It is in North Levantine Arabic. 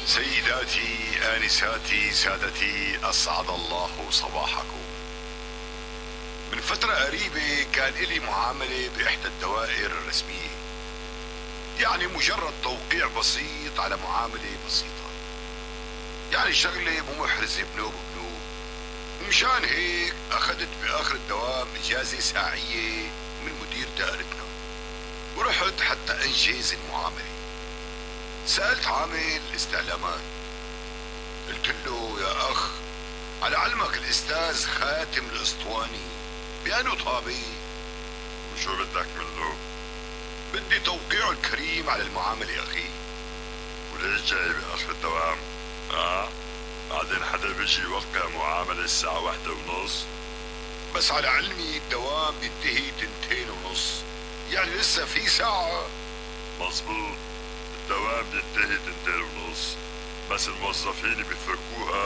سيداتي آنساتي سادتي، أسعد الله صباحكم. من فترة قريبة كان إلي معاملة بإحدى الدوائر الرسمية، يعني مجرد توقيع بسيط على معاملة بسيطة، يعني شغلة مو محرزة بنوب بنوب. ومشان هيك أخذت بآخر الدوام إجازة ساعية من مدير دائرتنا، ورحت حتى أنجز المعاملة. سألت عامل استعلامات، قلت له: يا أخ، على علمك الأستاذ خاتم الأسطواني بأنه طابع، وشو بدك منه؟ بدي توقيعه الكريم على المعاملة أخي. وليش جاي بآخر الدوام؟ بعدين حدا بيجي يوقع معاملة الساعة 1:30؟ بس على علمي الدوام بينتهي 2:30، يعني لسه في ساعة. مظبوط، الدوام بينتهي 2:30، بس الموظفين بيتركوها